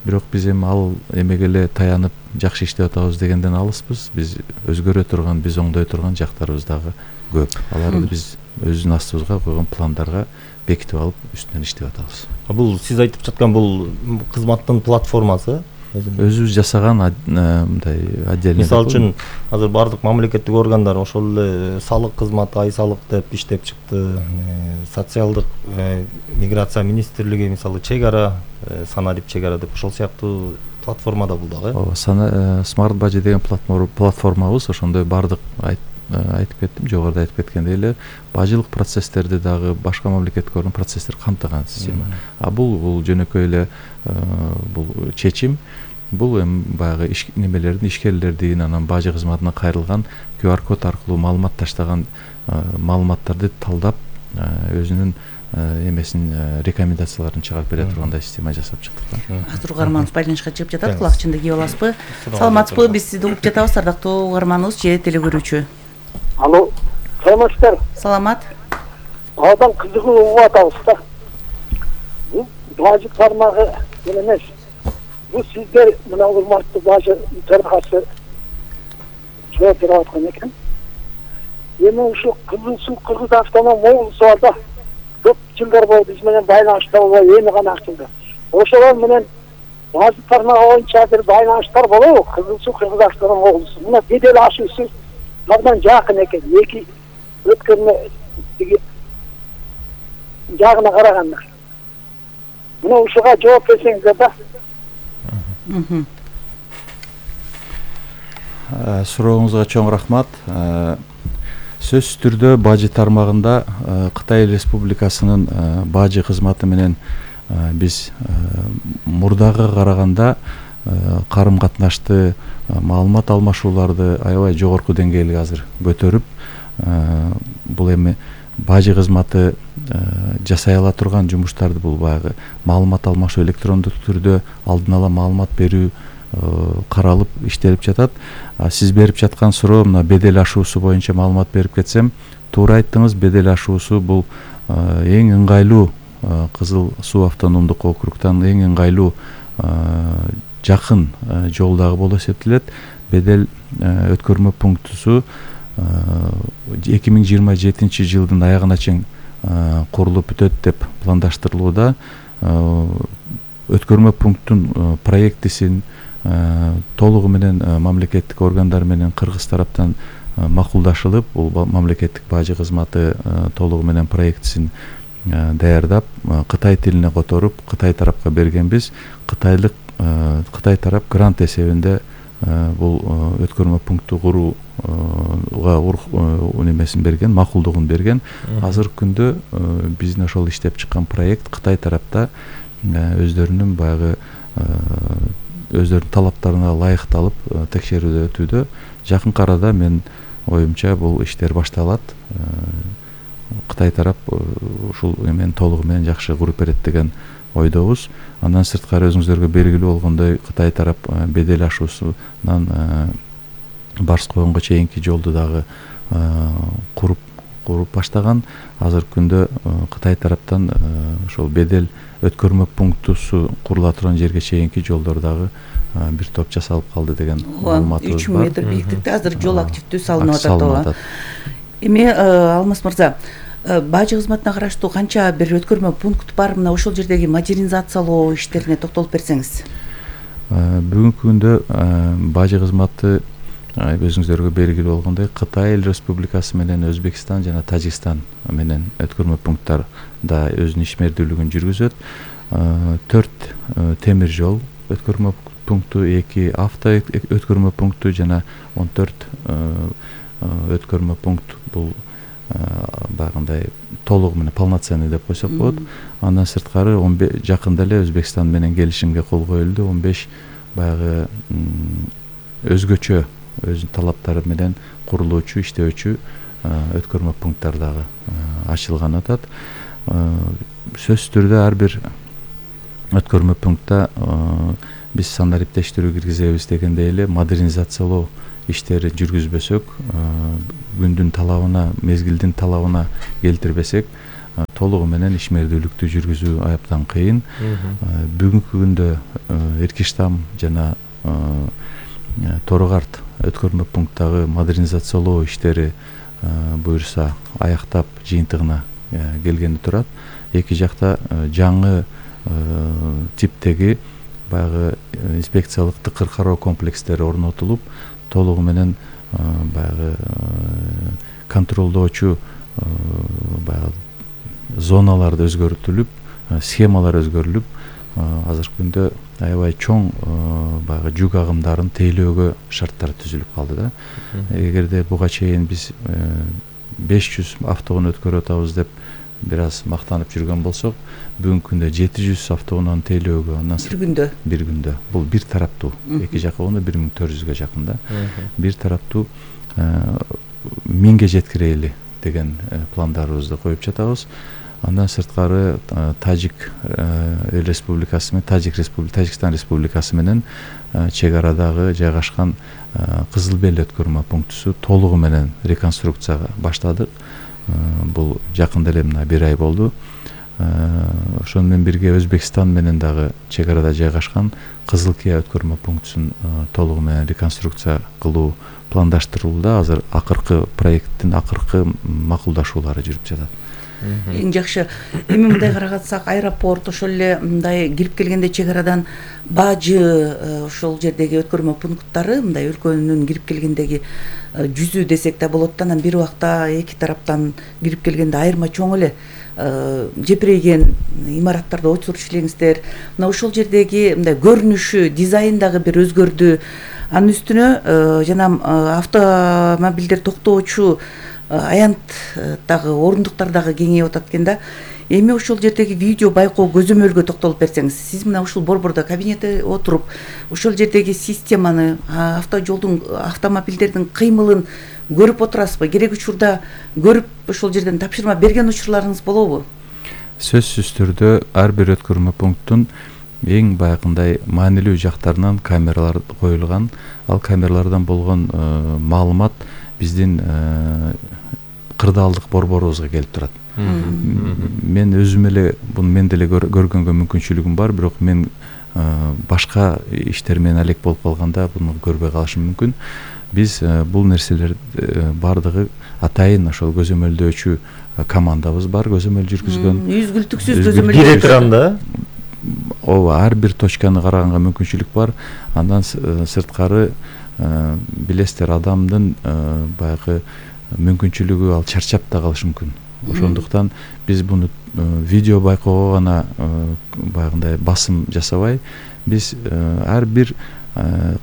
Бирок биз эми ал эмеге эле таянып жакшы иштеп атабыз дегенден алыспыз. Биз өзгөрө турган, биз оңдой турган жактарыбыз дагы көп. Аларды биз өзүбүздүн астыбызга койгон пландарга бекитип алып, үстүнөн иштеп атабыз. Бул сиз айтып жаткан бул кызматтын платформасы өзүбүз жасаган мындай отдельный. Мисалы үчүн азыр бардык мамлекеттик органдар ошол эле салык кызматы, ай салык деп иштеп чыкты. Социалдык миграция министрлиги мисалы чек ара, санарип чек ара деп ошол сыяктуу платформада бул дагы. Ооба, Smart Budget деген платформабыз ошондой бардык айтып кеттим, жогоруда айтып кеткендей эле бажылык процесстерди дагы башка мамлекеттик орган процесстер камтыган система. Бул жөнөкөй эле бул чечим. Бул эми баягы немелердин, ишкерлердин, анан бажы кызматына кайрылган QR код аркылуу маалымат таштаган маалыматтарды талдап өзүнүн эмесин рекомендацияларын чыгарып бере тургандай система жасап чыктык. Азыр угарманыбыз байланышка чыгып жатат, кулакчынды кийип аласызбы? Саламатсызбы? Биз сизди угуп жатабыз, ардактуу угарманыбыз же телекөрүүчү. Алло, саламатсыздар. Саламат. Абдан кызыгып угуп атабыз да. Бул бажы тармагы эмес. Бул сиздер мына урматтуу бажы төрагасы жооп берип аткан экен. Эми ушу Кызыл Суу Кыргыз автоном облусу бар да. Көп жылдар болду биз менен байланышта болбой, эми гана ачылды. Ошолор менен бажы тармагы боюнча бир байланыштар болобу? Кызыл Суу Кыргыз автоном облусу. Мына бедел ашуусу абдан жакын экен. Эки өткөрмө жагына караганда. Мына ушуга жооп берсеңиздер да. Сурооңузга чоң рахмат. Сөзсүз түрдө бажы тармагында Кытай Республикасынын бажы кызматы менен биз мурдага караганда карым катнашты, маалымат алмашууларды аябай жогорку деңгээлге азыр көтөрүп, бул эми бажы кызматы жасай ала турган жумуштарды, бул баягы маалымат алмашуу, электрондук түрдө алдын ала маалымат берүү каралып иштелип жатат. Сиз берип жаткан суроо мына бедел ашуусу боюнча маалымат берип кетсем, туура айттыңыз. Бедел ашуусу бул эң ыңгайлуу Кызыл Суу автономдук округтан эң ыңгайлуу жакын жолдагы болуп эсептелет. Бедел өткөрмө пунктусу 2027 жылдын аягына чейин курулуп бүтөт деп пландаштырылууда. Өткөрмө пункттун проектисин толугу менен мамлекеттик органдар менен кыргыз тараптан макулдашылып, бул мамлекеттик бажы кызматы толугу менен проектисин даярдап, Кытай тилине которуп, Кытай тарапка бергенбиз. Кытай тарап грант эсебинде бул өткөрмө пункту курууга немесин берген, макулдугун берген. Азыркы күндө биздин ошол иштеп чыккан проект Кытай тарапта өздөрүнүн баягы өздөрүнүн талаптарына ылайыкталып текшерүүдө өтүүдө. Жакынкы арада мен оюмча бул иштер башталат. Кытай тарап ушул эмен толугу менен жакшы куруп берет деген ойдобуз. Андан сырткары өзүңүздөргө белгилүү болгондой, Кытай тарап бедел ашуусунан Барс койгонго чейинки жолду дагы куруп баштаган. Азыркы күндө Кытай тараптан ошол бедел өткөрмө пунктусу курула турган жерге чейинки жолдор дагы бир топ жасалып калды деген маалыматыбыз бар. 3000 метр бийиктикте азыр жол активдүү салынып атат. Эми Алмаз мырза, бажы кызматына караштуу канча бир өткөрмө пункт бар? Мына ошол жердеги модернизациялоо иштерине токтолуп берсеңиз. Бүгүнкү күндө бажы кызматы өзүңүздөргө белгилүү болгондой Кытай Республикасы менен Өзбекстан жана Тажикстан менен өткөрмө пункттарда өзүнүн ишмердүүлүгүн жүргүзөт. 4 темир жол өткөрмө пункту, 2 авто өткөрмө пункту жана 14 өткөрмө пункт. Бул багындай толугу менен полноценный деп койсок болот. Андан сырткары жакында эле Өзбекстан менен келишимге кол коюлду. 15 баягы өзгөчө өзүнүн талаптары менен курулуучу, иштөөчү өткөрмө пункттар дагы ачылган атат. Сөзсүз түрдө ар бир өткөрмө пунктта биз санариптештирүү киргизебиз дегендей эле модернизациялоо иштерин жүргүзбөсөк, күндүн талабына, мезгилдин талабына келтирбесек, толугу менен ишмердүүлүктү жүргүзүү аябдан кыйын. Бүгүнкү күндө Эркиштам жана Тору-Карт өткөрмө пункттагы модернизациялоо иштери буюрса аяктап жыйынтыгына келгени турат. Эки жакта жаңы типтеги баягы инспекциялык тыкыр кароо комплекстери орнотулуп, толугу менен баягы контролдоочу баягы зоналарды өзгөртүлүп, схемалар өзгөрүлүп, азыркы күндө аябай чоң баягы жүк агымдарын тейлөөгө шарттар түзүлүп калды да. Эгерде буга чейин биз 500 автоунаа өткөрүп атабыз деп бир аз мактанып жүргөн болсок, бүгүнкү күндө 700 автоунааны тейлөөгө бир күндө бул бир тараптуу, эки жакка болгондо 1400га жакын да. Бир тараптуу 1000ге жеткирели деген пландарыбызды коюп жатабыз. Андан сырткары Тажик Республикасы менен Тажикстан Республикасы менен чек арадагы жайгашкан Кызыл Бел өткөрмө пунктусу толугу менен реконструкцияга баштадык. Бул жакында эле мына 1 ай болду. Ошону менен бирге Өзбекстан менен дагы чек арада жайгашкан Кызыл Кия өткөрмө пунктусун толугу менен реконструкция кылуу пландаштырылууда. Азыр акыркы проекттин акыркы макулдашуулары жүрүп жатат. Эң жакшы. Эми мындай карагатсак, аэропорт ошол эле мындай кирип келгенде чек арадан Бажы ошол жердеги өткөрмө пункттары мындай өлкөнүн кирип келгендеги жүзү десек да болот да, анан бир убакта эки тараптан кирип келгенде айырма чоң эле жепирейген имараттарды отуруш элеңиздер. Мына ошол жердеги мындай көрүнүшү, дизайн дагы бир өзгөрдү. Анын үстүнө жана автомобилдер токтоочу аянттагы орундуктар дагы кеңейип атат экен да. Эми ошол жердеги видео байкоо көзөмөлгө токтолуп берсеңиз, сиз мына ушул борбордо кабинетте отуруп, ошол жердеги системаны, автожолдун, автомобилдердин кыймылын көрүп отурасызбы? Керек учурда көрүп ошол жерден тапшырма берген учурларыңыз болобу? Сөзсүз түрдө ар бир өткөрмө пункттун эң баягындай маанилүү жактарынан камералар коюлган. Ал камералардан болгон маалымат биздин кырдаалдык борборубузга келип турат. Мен өзүм эле буну мен деле көргөнгө мүмкүнчүлүгүм бар, бирок мен башка иштер менен алек болуп калганда буну көрбөй калышым мүмкүн. Биз бул нерселер бардыгы атайын ошол көзөмөлдөөчү командабыз бар, көзөмөл жүргүзгөн. Үзгүлтүксүз көзөмөл бир экран ооба, ар бир точканы караганга мүмкүнчүлүк бар. Андан сырткары билесиздер, адамдын баягы мүмкүнчүлүгү ал чарчап да калышы мүмкүн. Ошондуктан биз буну видео байкоого гана баягындай басым жасабай, биз ар бир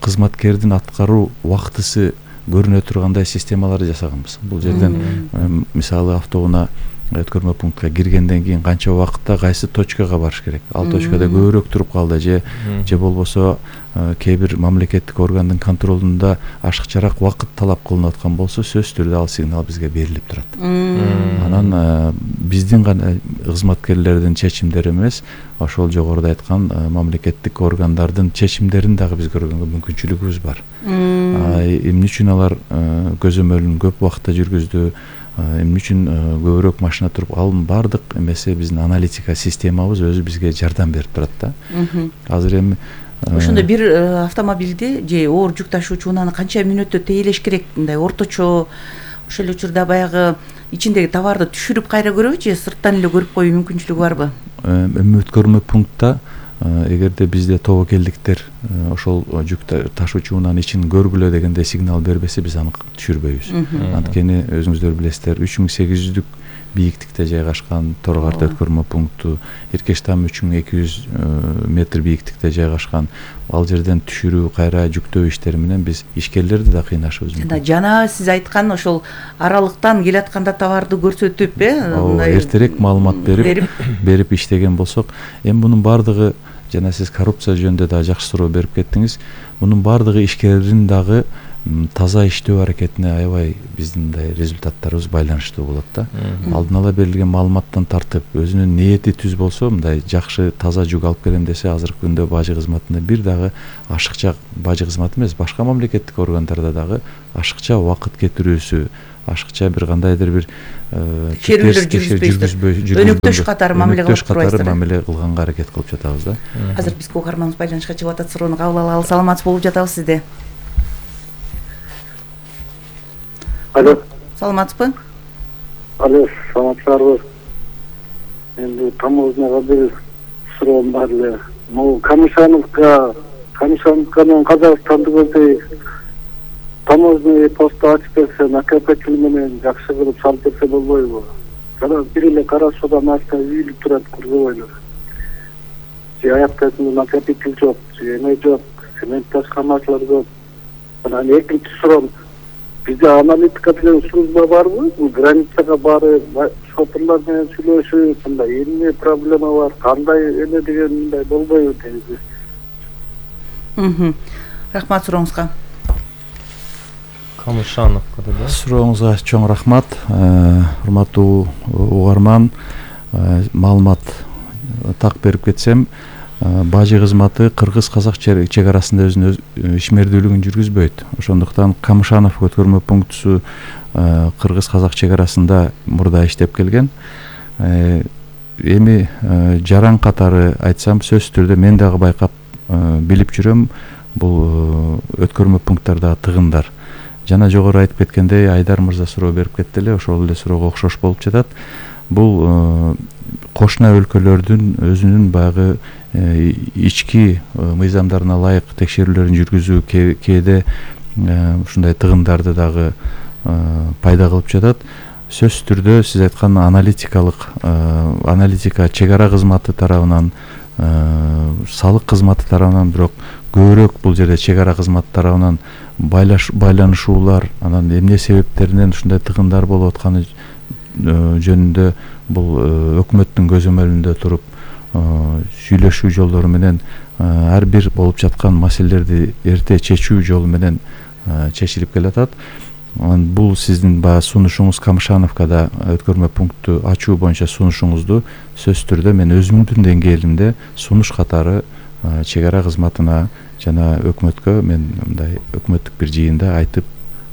кызматкердин аткаруу убактысы көрүнө тургандай системаларды жасаганбыз. Бул жерден мисалы автоунаа өткөрмө пунктка киргенден кийин канча убакытта кайсы точкага барыш керек, ал точкада көбүрөөк туруп калды же болбосо кээ бир мамлекеттик органдын контролунда ашыкчараак убакыт талап кылынып аткан болсо, сөзсүз түрдө ал сигнал бизге берилип турат. Анан биздин гана кызматкерлердин чечимдери эмес, ошол жогоруда айткан мамлекеттик органдардын чечимдерин дагы биз көргөнгө мүмкүнчүлүгүбүз бар. Эмне үчүн алар көзөмөлүн көп убакытта жүргүздү, эмне үчүн көбүрөөк машина туруп, ал бардык эмеси биздин аналитика системабыз өзү бизге жардам берип турат да. Азыр эми ошондо бир автомобилди же оор жүк ташуучу унааны канча мүнөттө тейлеш керек? Мындай орточо ошол учурда баягы ичиндеги товарды түшүрүп кайра көрөбү же сырттан эле көрүп коюу мүмкүнчүлүгү барбы? Эми өткөрмө пунктта эгерде бизде тобокелдиктер ошол жүк ташуучу унаанын ичин көргүлө дегенде сигнал бербесе, биз аны түшүрбөйбүз. Анткени өзүңүздөр билесиздер, 3800 бийиктикте жайгашкан Тору-Карт өткөрмө пункту, Эркиштам 3200 метр бийиктикте жайгашкан. Ал жерден түшүрүү, кайра жүктөө иштери менен биз ишкерлерди да кыйнашыбыз мүмкүн. Жана сиз айткан ошол аралыктан келатканда товарды көрсөтүп, эртерээк маалымат берип иштеген болсок, эми мунун бардыгы, жана сиз коррупция жөнүндө да жакшы суроо берип кеттиңиз, мунун бардыгы ишкердин дагы таза иштөө аракетине аябай биздин мындай результаттарыбыз байланыштуу болот да. Алдын ала берилген маалыматтан тартып өзүнүн ниети түз болсо, мындай жакшы таза жүк алып келем десе, азыркы күндө бажы кызматында бир дагы ашыкча, бажы кызматы эмес, башка мамлекеттик органдарда дагы ашыкча убакыт кетирүүсү, ашыкча бир кандайдыр бир жүргүзбөйсүздөр, өнөктөш катары мамиле кылып турбайсыздар. Мамиле кылганга аракет кылып жатабыз да. Азыр бизге угарманыбыз байланышка чыгып атат, суроону кабыл алалы. Саламатсыз болуп жатабыз сизде. Алло. Саламатсызбы? Алло, саламатсыздарбы? Энди тамознага бир суроом бар эле. Могу Камышановка менен Казакстанды көздөй таможный посту ачып берсе, накопитель менен жакшы кылып салып берсе болбойбу? Жана бир эле Карашодан ачта үйүлүп турат грузовойлор. Же аяктасында накопитель жок, же эме жок, цемент ташкамачылар көп. Анан экинчи суроом, бизде аналитика деген служба барбы? Бул границага барып, шоферлор менен сүйлөшүп, мындай эмне проблема бар, кандай эме деген мындай болбойбу дейбиз. Рахмат сурооңузга. Камышановка да. Сурооңузга чоң рахмат. Урматтуу угарман, маалымат так берип кетсем, бажы кызматы кыргыз-казак чек арасында өзүнүн ишмердүүлүгүн жүргүзбөйт. Ошондуктан Камышанов өткөрмө пунктусу кыргыз-казак чек арасында мурда иштеп келген. Эми жаран катары айтсам, сөзсүз түрдө мен дагы байкап билип жүрөм, бул өткөрмө пункттардагы тыгындар. Жана жогору айтып кеткендей, Айдар мырза суроо берип кетти эле, ошол эле суроого окшош болуп жатат. Бул кошуна өлкөлөрдүн өзүнүн баягы ички мыйзамдарына ылайык текшерүүлөрүн жүргүзүү кээде ушундай тыгындарды дагы пайда кылып жатат. Сөзсүз түрдө сиз айткан аналитика чек ара кызматы тарабынан, салык кызматы тарабынан, бирок көбүрөөк бул жерде чек ара кызматы тарабынан байланышуулар, анан эмне себептеринен ушундай тыгындар болуп атканы жөнүндө бул өкмөттүн көзөмөлүндө туруп сүйлөшүү жолдору менен ар бир болуп жаткан маселелерди эрте чечүү жолу менен чечилип келатат. Бул сиздин баягы сунушуңуз, Камышановкада өткөрмө пункту ачуу боюнча сунушуңузду сөзсүз түрдө мен өзүмдүн деңгээлимде сунуш катары чек ара кызматына жана өкмөткө мен мындай өкмөттүк бир жыйында айтып,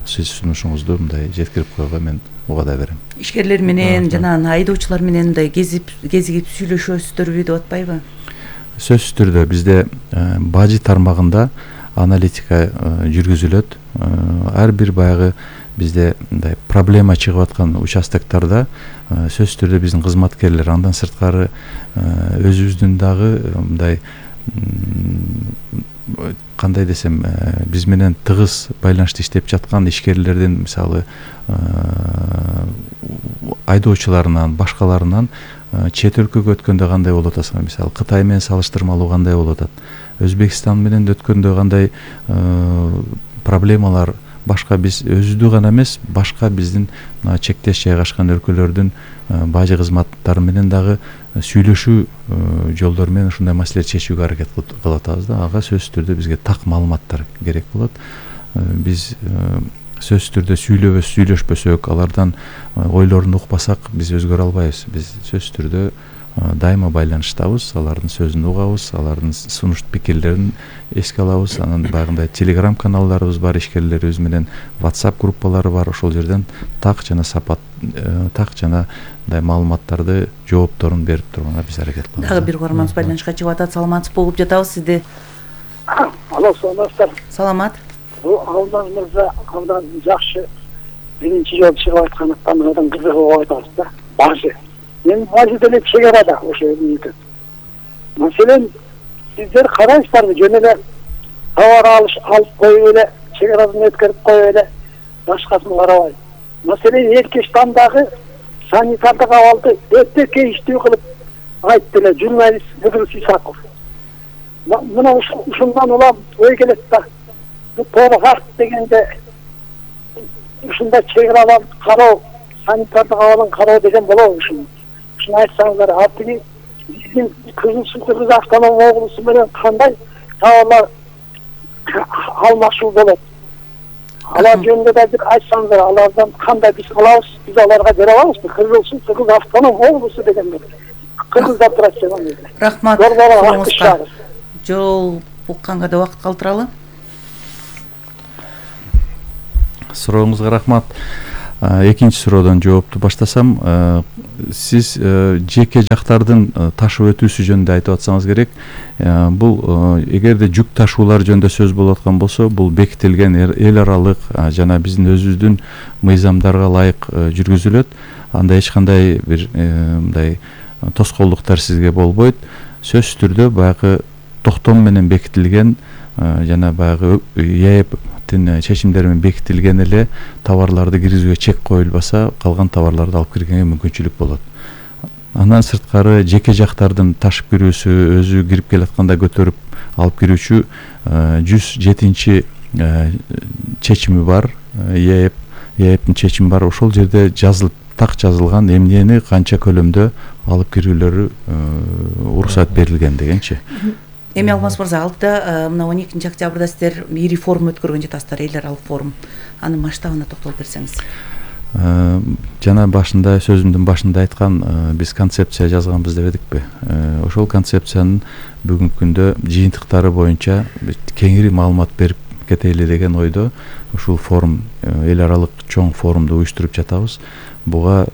сиз сунушуңузду мындай жеткирип коюуга мен убада берем. Ишкерлер менен жана айдоочулар менен мындай кезигип сүйлөшөсүздөрбү деп атпайбы? Сөзсүз түрдө бизде бажы тармагында аналитика жүргүзүлөт. Ар бир баягы бизде мындай проблема чыгып аткан участоктарда сөзсүз түрдө биздин кызматкерлер, андан сырткары өзүбүздүн дагы мындай кандай десем, биз менен тыгыз байланышта иштеп жаткан ишкерлердин, мисалы айдоочуларынан, башкаларынан чет өлкөгө өткөндө кандай болуп атасың, мисалы Кытай менен салыштырмалуу кандай болуп атат, Өзбекстан менен өткөндө кандай проблемалар, башка биз өзүдү гана эмес, башка биздин чектеш жайгашкан өлкөлөрдүн бажы кызматтары менен дагы сүйлөшүү жолдору менен ушундай маселе чечүүгө аракет кылып атабыз да. Ага сөзсүз түрдө бизге так маалыматтар керек болот. Биз сөзсүз түрдө сүйлөшпөсөк, алардан ойлорун укпасак, биз өзгөрө албайбыз. Биз сөзсүз түрдө дайыма байланыштабыз, алардын сөзүн угабыз, алардын сунуш пикирлерин эске алабыз. Анан баягындай телеграм каналдарыбыз бар, ишкерлерибиз менен WhatsApp группалары бар, ошол жерден так жана сапат, так жана мындай маалыматтарды, жоопторун берип турганга биз аракет кылабыз. Дагы бир угарманыбыз байланышка чыгып атат. Саламатсыз болуп жатабыз сизди. Алло, саламатсыздар. Саламат. Алдан мырза, абдан жакшы биринчи жолу чыгып аткандыктан абдан кызыгып атабыз да. Бажы. Мен бажы деле чек арада ошо үйдө. Маселен, сиздер карайсыздарбы, жөн эле товар алып коюп эле, чек арадан өткөрүп коюп эле, башкасын карабай. Маселен, Эркештандагы санитардык абалды өтө кейиштүү кылып айтты эле журналист Гүлүс Исаков. Мына ушундан улам ой келет да. Бу тоону факт дегенде ушундай чек арадан кароо, санитардык абалын кароо деген болобу ушуну? Ушуну айтсаңыздар, ал тиги биздин Кызыл Суу Кыргыз автономия облусу менен кандай товарлар алмашуу болот? Алар жөнүндө да бир айтсаңыздар, алардан кандай биз алабыз, биз аларга бере алабызбы? Кыргызсу, Кыргыз автоном облусу дегенде. Кыргызда турат деген. Рахмат. Жол укканга да убакыт калтыралы. Сурооңузга рахмат. Экинчи суроодон жоопту баштасам, сиз жеке жактардын ташып өтүүсү жөнүндө айтып атсаңыз керек. Бул эгерде жүк ташуулар жөнүндө сөз болуп аткан болсо, бул бекитилген эл аралык жана биздин өзүбүздүн мыйзамдарга ылайык жүргүзүлөт. Анда эч кандай бир мындай тоскоолдуктар сизге болбойт. Сөзсүз түрдө баягы токтом менен бекитилген жана баягы ЕЭПтин чечимдери менен бекитилген эле товарларды киргизүүгө чек коюлбаса, калган товарларды алып киргенге мүмкүнчүлүк болот. Андан сырткары жеке жактардын ташып кирүүсү, өзү кирип келатканда көтөрүп алып кирүүчү 107 чечими бар. ЕЭПтин чечими бар. Ошол жерде жазылган эмнени канча көлөмдө алып кирүүлөрү уруксат берилген дегенчи. Эми Алмаз мырза, алдыда мына 12 октябрда сиздер ири форум өткөргөн жатасыздар, эл аралык форум. Анын масштабына токтолуп берсеңиз. Жана сөзүмдүн башында айткан, биз концепция жазганбыз деп эдикпи? Ошол концепциянын бүгүнкү күндө жыйынтыктары боюнча кеңири маалымат берип кетели деген ойдо ушул форум, эл аралык чоң форумду уюштуруп жатабыз. Буга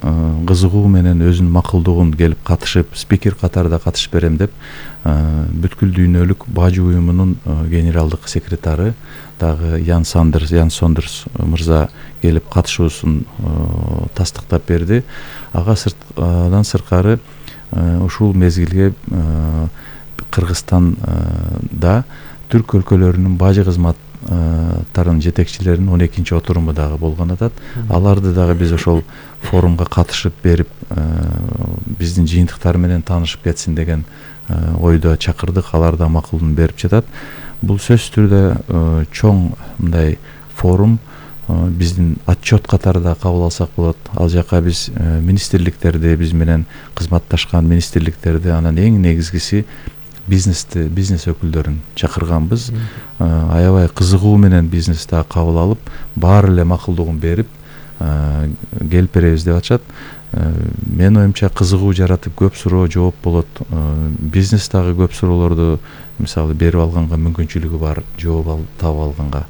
кызыгуу менен өзүнүн макулдугун келип катышып, спикер катарында катышып берем деп, бүткүл дүйнөлүк бажы уюмунун генералдык секретары дагы Ян Сондерс мырза келип катышуусун тастыктап берди. Адан сырткары ушул мезгилге Кыргызстанда түрк өлкөлөрүнүн бажы кызматтарынын жетекчилеринин 12-чи отуруму дагы болгон атат. Аларды дагы биз ошол форумга катышып берип, биздин жыйынтыктар менен таанышып кетсин деген ойдо чакырдык. Алар да макулун берип жатат. Бул сөзсүз түрдө чоң мындай форум, биздин отчет катарында кабыл алсак болот. Ал жака биз министрликтерди, биз менен кызматташкан министрликтерди, анан эң негизгиси бизнес өкүлдөрүн чакырганбыз. Аябай кызыгуу менен бизнести кабыл алып, баары эле макулдугун берип келип беребиз деп атышат. Менин оюмча кызыгуу жаратып, көп суроо жооп болот. Бизнес дагы көп суроолорду мисалы берип алганга мүмкүнчүлүгү бар, жооп таап алганга.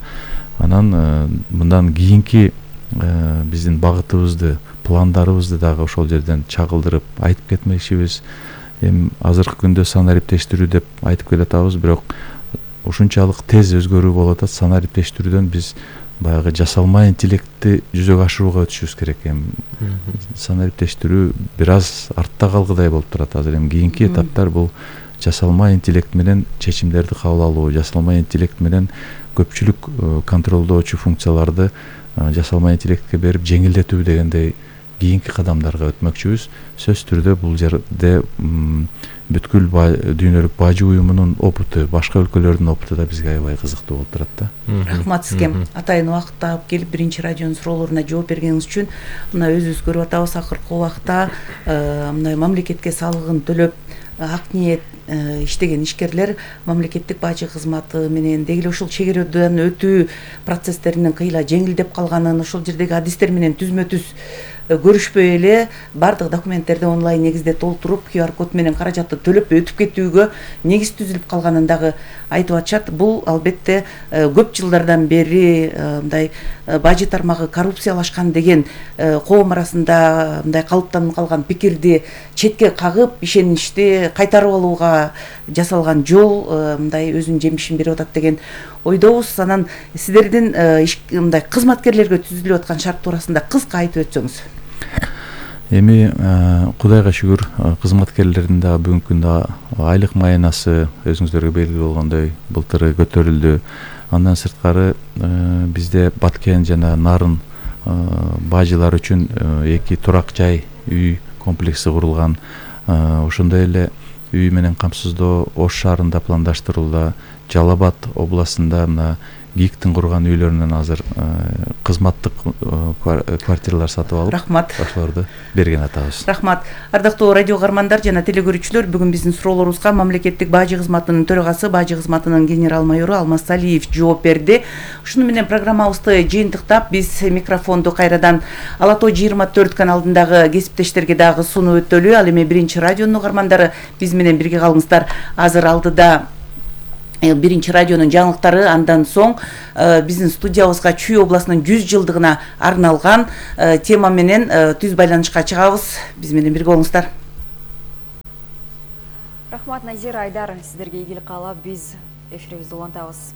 Анан мындан кийинки биздин багытыбызды, пландарыбызды дагы ошол жерден чагылдырып айтып кетмекчибиз. Эми азыркы күндө санариптештирүү деп айтып келатабыз, бирок ушунчалык тез өзгөрүү болуп атат. Санариптештирүүдөн биз баягы жасалма интеллектти жүзөгө ашырууга өтүшүбүз керек. Эми санариптештирүү бир аз артта калгыдай болуп турат азыр. Эми кийинки этаптар бул жасалма интеллект менен чечимдерди кабыл алуу, жасалма интеллект менен көпчүлүк контролдоочу функцияларды жасалма интеллектке берип жеңилдетүү дегендей кийинки кадамдарга өтмөкчүбүз. Сөзсүз түрдө бул жерде бүткүл дүйнөлүк бажы уюмунун опыту, башка өлкөлөрдүн опыту да бизге аябай кызыктуу болуп турат да. Рахмат сизге. Атайын убакыт таап келип биринчи радионун суроолоруна жооп бергениңиз үчүн. Мына өзүбүз көрүп атабыз, акыркы убакта мындай мамлекетке салыгын төлөп ак ниет иштеген ишкерлер мамлекеттик бажы кызматы менен деги эле ушул чек аралыктан өтүү процесстеринин кыйла жеңилдеп калганын, ошол жердеги адистер менен түзмө түз көрүшпөй эле баардык документтерди онлайн негизде толтуруп, QR код менен каражатты төлөп өтүп кетүүгө негиз түзүлүп калганын дагы айтып атышат. Бул албетте көп жылдардан бери мындай бажы тармагы коррупциялашкан деген коом арасында мындай калыптанып калган пикирди четке кагып, ишеничти кайтарып алууга жасалган жол мындай өзүнүн жемишин берип атат деген ойдобуз. Анан сиздердин мындай кызматкерлерге түзүлүп аткан шарт туурасында кыска айтып өтсөңүз. Эми Кудайга шүгүр, кызматкерлердин да бүгүнкү күндө айлык маянасы өзүңүздөргө белгилүү болгондой былтыр көтөрүлдү. Андан сырткары бизде Баткен жана Нарын бажылар үчүн 2 турак жай үй комплекси курулган. Ошондой эле үй менен камсыздоо Ош шаарында пландаштырылды. Жалал Абад областында мына ГИКтин курган үйлөрүнөн азыр кызматтык квартиралар сатып алып, Рахмат. ошолорду берген атабыз. Рахмат. Ардактуу радио каармандар жана телекөрүүчүлөр, бүгүн биздин суроолорубузга мамлекеттик бажы кызматынын төрагасы, бажы кызматынын генерал майору Алмаз Алиев жооп берди. Ушуну менен программабызды жыйынтыктап, биз микрофонду кайрадан Ала Тоо 24 каналындагы кесиптештерге дагы сунуп өтөлү. Ал эми Биринчи радионун угармандары, биз менен бирге калыңыздар. Азыр алдыда Биринчи радионун жаңылыктары, андан соң биздин студиябызга Чүй областынын 100 жылдыгына арналган тема менен түз байланышка чыгабыз. Биз менен бирге болуңуздар. Рахмат, Назира, Айдар, сиздерге ийгилик каалап биз эфирибизди улантабыз.